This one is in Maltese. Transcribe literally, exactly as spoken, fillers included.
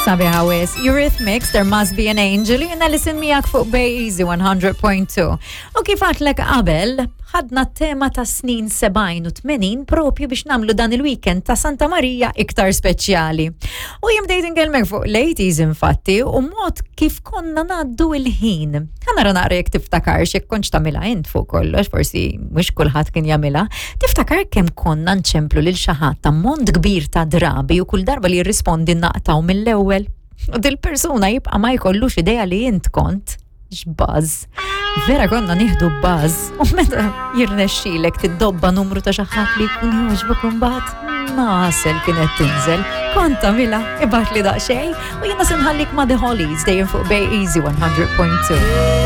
Sabiħa wisq, Eurythmics, There Must Be an Angel, jiena Alison miegħek fuq Bay Easy one hundred point two. U kif għedtlek qabel, ħadna tema ta' snin sebgħin u tmenin propju biex nagħmlu dan il-weekend ta' Santa Maria iktar speċjali. U jien bdejt inkellmek fuq l-eighties infatti u mod kif konna ngħaddu il-ħin. Ħa nara naqra jekk tiftakar jekk kontx tagħmilha int fuq kollox, forsi mhux kulħadd kien jagħmilha. Tiftakar kemm konna nċemplu lil xi ħadd ta' ammont kbir ta' drabi u kull darba li jirrispondi naqtgħu mill-ewwel? U dil-persuna jibqa' ma jkollux idea li int kont. X'buzz. Vera konna nieħdu buzz. U meta jirnexxilek tiddobba numru ta' xi ħadd li jkun jogħġbok imbagħad nasel kienet tinżel. Kont tagħmilha? Ibgħatli daqsxejn u jiena se nħallik ma' The Hollies dejjem fuq Bay Easy one hundred point two.